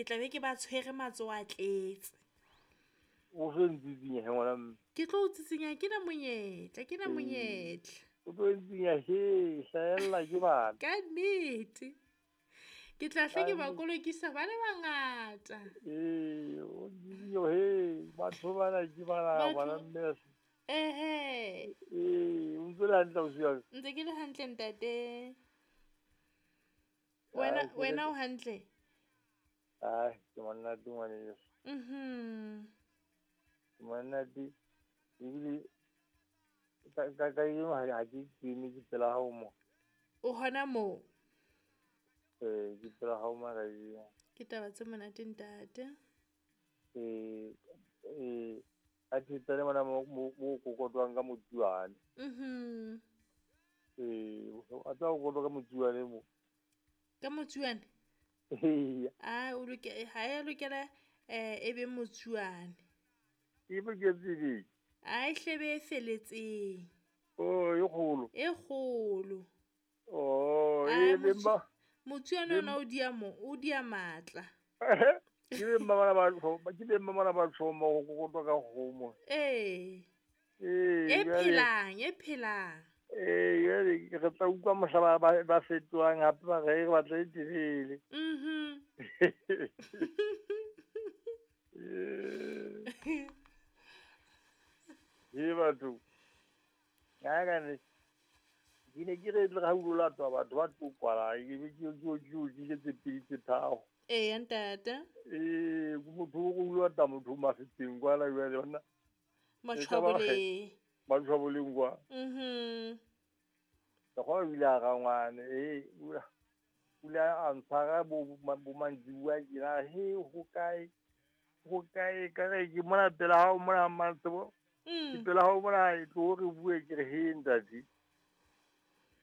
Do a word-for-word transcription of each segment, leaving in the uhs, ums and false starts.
Ke tla be ke ba tshwere matsoho a tletse. O so ntsitsinya he ngwana mme. Ke tlo o tsitsinya ke na monyetla, ke na monyetla. O tlo ntsitsinya he, hlahella ke bana. Ka nnete. Ke tla hle ke ba kolokisa ba le bangata. Ee, o ntsitsinya he, batho bana ke bana ngwana mme. Ehe. Ee, o ntse le hantle ausi wa ka? Ntse ke le hantle ntate. Wena wena o hantle? Ai, ke monate ngwaneso. Mhm. Ke monate ebile ka ka ka ha ke kene ke pela hao mo. O hona moo? Ee, ke pela hao mo kajeno. Ke taba tse monate ntate. Ee, ee, a thetsane mona mo mo kokotwang ka motsuane. Mhm. Ee, a tsa kokotwa ka motsuane mo. Ka motsuane? Ee. A o loke ha ya lokela eh e be motsuane. E be ke tsebe. A e hlebe e feletseng. Oh, e kgolo. E kgolo. Oh, e be ba motsuane ona o dia mo, o dia matla. Ke be mma ba ke be mma ba tshoma go kokotwa ka kgomo. Ee. Ee, e phelang, e phelang. Ee, jwale re tla utlwa mohla ba ba fetohang hape ba re re batla e telele. Mhm. Ee batho. Ka ka ne ke ne ke re tle ha o latwa batho ba tlo kwala ke be ke ke ke ke tse pedi tse tharo. Ee ntate. Ee, motho o o lata motho mafeteng kwala jwale bona. Matshwaboleng. Matshwaboleng kwa. Mhm. Ka go ile a rangwane ee o ile a ntshwara bo bo mantsibuya ke na he ho kae ho kae ka re ke mona pela hao mona mantsebo. Mm. Ke pela hao mona e tlo re bue ke re he ntate.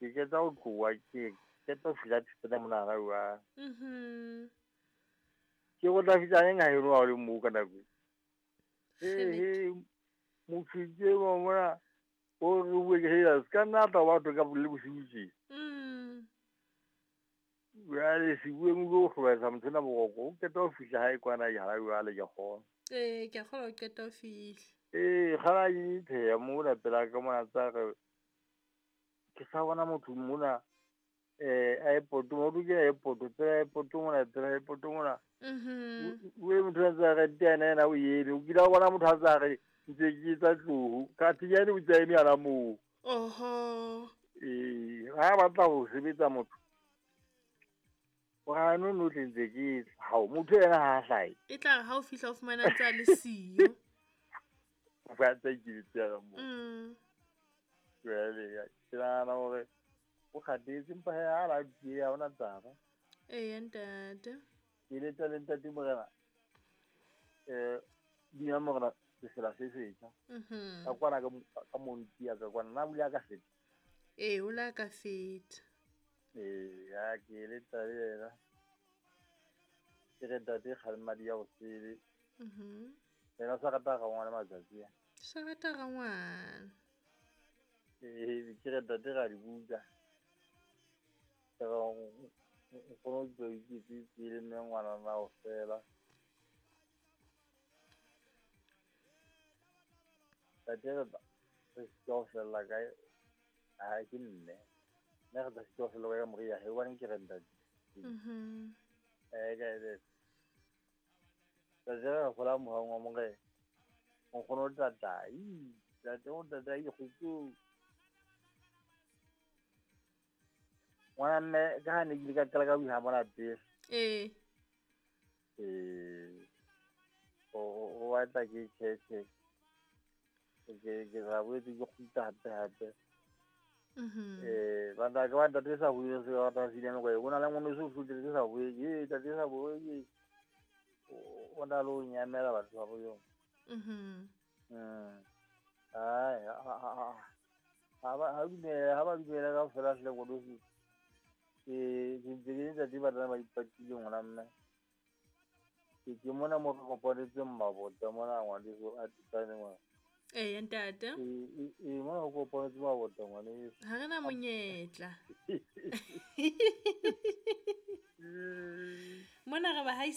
Ke ketsa ho tloha ke ketsa ho fihla thetsana mona ga wa. Mhm. Ke go tla fihla eng ha eno ha o le moo ka nako. Ee he motho ke mo mona o re bue ke he se ka nna tla batho ka le bosiu tje. Mm. Jwale sebueng o tlo hlobaetsa motho ena boroko o qeta ho fihla hae kwana ha jwale ke kgona. Ee, ke a kgolwa o qeta ho fihla. Ee, kgala ke pheha mona pela ka mona tsa re ke sa bona motho mona eh airport mo ke airport pela airport mona pela airport mona. Mhm. O e motho a tsa re tena ena o eme o kile wa bona motho a tsa re ntse ke tsa tloho ka thinyane o tsa eme ana moo. Oho. Ee, ha batla ho sebetsa motho. Wa no no tle ntse ke ha motho ena ha hlae. E tla ha o fihla o fumana tsa le siyo. Ba tsa ke tsela mo. Mm. Jwale ke nahana hore o kgathetse empa he ha la tie ha ona taba. Ee ntate. Ke letsa le ntate morena. Eh dina morena sefela se setjha. Mhm. Ka kwana ka ka monti ya ka kwana na bula ka feta. Ee o la ka feta. Ee ya ke letsa le yena. Ke re ntate kgalemadi ya ho sele. Mhm. Yena sa rata ga ngwana matsatsi a. Sa rata ga ngwana. Ee ke re ntate ga di buka. Ke re o kgone ho iketse le mme ngwana na o fela. Ntate re re sitwa ho fella kae ha ke mme. Nna re tla sitwa ho fella kae ka moriya he hobane ke re ntate. Mhm. Eh ka e Ntate re gola mohang wa morena. O kgone ho tatai. Ntate o tatai kgutso. Ngwana mme ka ha ne ke ile ka qala ka buha mona pele. Ee. Ee. O o batla ke tjhe. Ke ke ra boetse ke kgutla hape hape. Mhm. Eh ba ntate ba ntate sa bue se ba tla sile nako e bona le ngwana so futle se sa bue ke ntate sa bue ke o na lo nyamela batho ba bo yo. Mhm. Mm. Ai ha ha ba ha dumela ha ba dumela ka fela hle go dosi. Ke ke ntse ke ntate ba tla ba ipatile ngwana mme. Ke ke mona mo re kopanetseng mabota mona ngwaneso a tsane ngwana. Ee ntate. Ee ee mona o kopanetse mabota ngwaneso. Ha re na monyetla. Mona re ba haisa